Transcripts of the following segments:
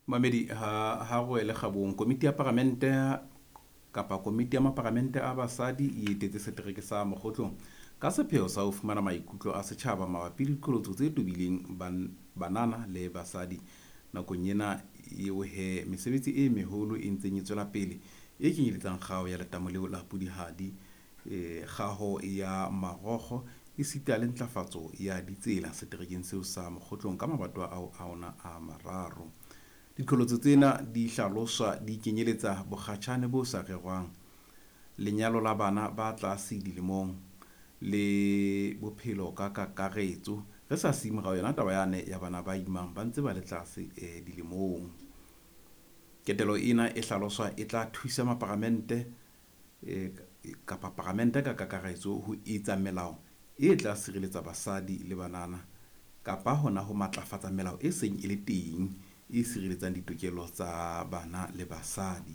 Mamedi ha re wele kgabong. Komiti ya paramente kapa komiti ya maparamente a basadi e etetse setereke sa Mokgotlong ka sepheo sa ho fumana maikutlo a setjhaba mabapi le diqholotso tse tobileng banana le basadi nakong ena eo he mesebetsi e meholo e ntseng e tswela pele e kenyeletsang kgaho ya letamo leo la Pudihadi, kgaho ya marokgo esita le ntlafatso ya ditsela seterekeng seo sa Mokgotlong ka mabatowa ao a ona a mararo. Diqholotso tsena di hlaloswa di kenyeletsa bokgatjhane bo sa rerwang, lenyalo la bana ba tlase dilemong le bophelo ka kakaretso, re sa siye morao yona taba yane ya bana ba imang ba ntse ba le tlase dilemong. Ketelo ena e hlaloswa e tla thusa maparamente kapa paramente ka kakaretso ho etsa melao e tla sireletsa basadi le banana kapa hona ho matlafatsa melao e seng e le teng e sireletsang ditokelo tsa bana le basadi.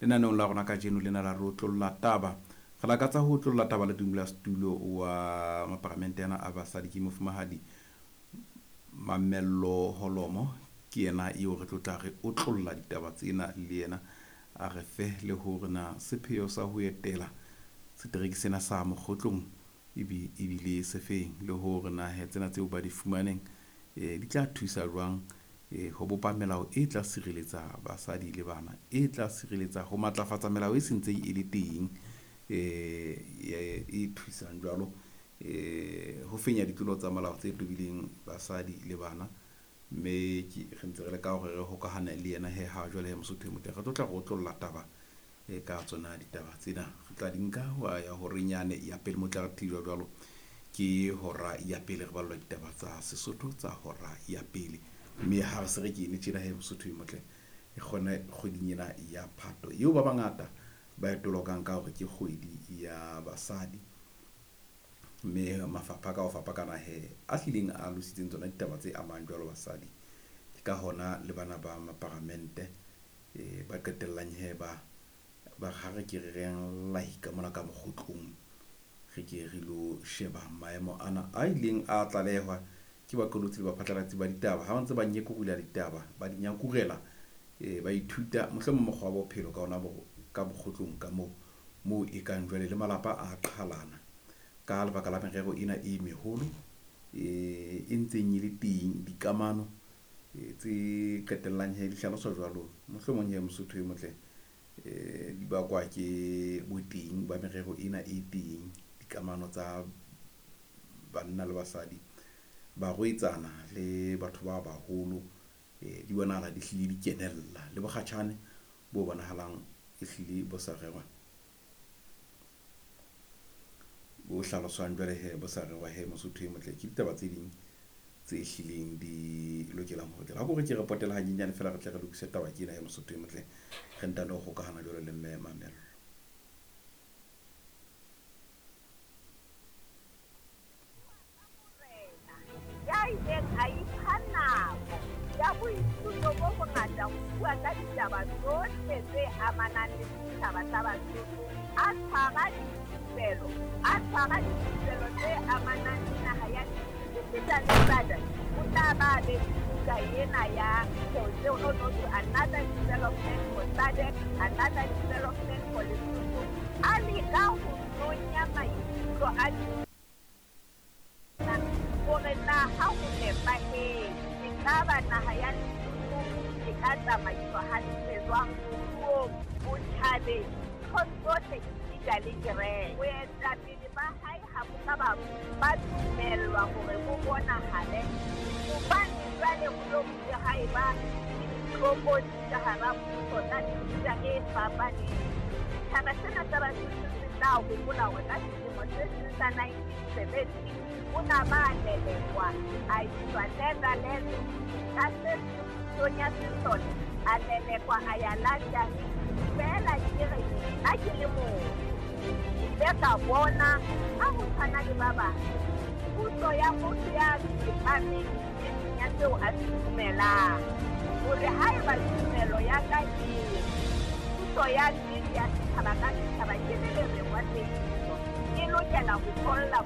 Lenaneong la rona kajeno lena la re otlolla taba, re lakatsa ho otlolla taba le modulasetulo wa maparamente ana a basadi ke mofumahadi Mamello Holomo. Ke yena eo re tlo tla re otlolla ditaba tsena le yena, a re fe le hore na sepheo sa ho etela setereke sena sa Mokgotlong ebile se feng, le hore na he tsena tseo ba di fumaneng di tla thusa jwang ho bopa melao e tla sireletsa basadi le bana, e tla sireletsa ho matlafatsa melao e sentseng e le teng e thusang jwalo ho fenya ditlolo tsa molao tse tobileng basadi le bana. Mme re ntse re leka hore re hokahane le yena he ha jwale he Mosotho e motle, re tlo tla re otlolla taba ka tsona ditaba tsena. Re tla di nka ho ya horeng yane ya pele, mo tla re thijwa jwalo ke hora ya pele, re ballwa ditaba tsa Sesotho tsa hora ya pele. Mme ha re se re kene tjena he Mosotho e motle, e kgone kgweding ena ya Phato eo ba bangata ba e tolokang ka hore ke kgwedi ya basadi, mme mafapha ka ho fapakana he a hlileng a alositseng tsona ditaba tse amang jwalo basadi. Ke ka hona le bana ba maparamente ba qetellang he ba ha re ke re reng lahika mona ka Mokgotlong, re ke re lo sheba maemo ana a ileng a tlalehwa ke baqolotsi le baphatlalatsi ba ditaba ha ba ntse ba nyekurula ditaba, ba di nyakurela, ba ithuta mohlomong mokgwa wa bophelo ka ona ka Mokgotlong ka moo e kang jwale le malapa a qhalana ka lebaka la merero ena e meholo e ntseng e le teng, dikamano tse qetellang he di hlaloswa jwalo mohlomong he Mosotho e motle di bakwa ke boteng ba merero ena e teng, dikamano tsa banna le basadi, barwetsana le batho ba baholo, di bonahala di hlile di kenella le bokgatjhane bo bonahalang e hlile bo sa rerwa, bo hlaloswang jwale he bo sa rerwa he Mosotho e motle. Ke ditaba tse ding tse hlileng di lokelang ho tlela. Ha ke re ke re potela hanyenyane fela re tle re lokise taba ke ena he Mosotho e motle, re ntano ho hokahana jwalo le mme Mamello. Ya ileng a ipha nako ya boithuto bo bongata ho bua ka ditaba tsohle tse amanang le setjhaba sa Basotho, a tshwara dithupelo, a tshwara dithupelo tse amanang le naha ya esita le SADC. O tla ba be le buka ena ya tseo no no to another development for SADC, another development for Lesotho. A leka ho nonya maikutlo a hore na ha ho nepahetse ekaba naha ya Lesotho e ka tsamaiswa hantle jwang moruong, botjhabeng, nthong tsohle esita le kereke. Boetapele ba hae ha bo ka ba dumellwa hore bo bonahale hobane jwale ho lo bile ha eba le ditlokotsi ka hara puso tsa mefuta e fapaneng. Setjhaba sena sa Basotho se tla hopola hore ka selemo se seng sa 1970 o na ba lelekwa a iswa Netherlands, ka se pusong ya sesole a lelekwa a ya London. Feela ke re ha ke le motho ke ile ka bona ha ho tshwana le ba bang puso ya motho ya tsepameng e seng ya seo a se dumelang, hore haeba tumelo ya ka e puso ya nnete ya setjhaba ka setjhaba ke le lerengwa tsebiso e lokela ho tholla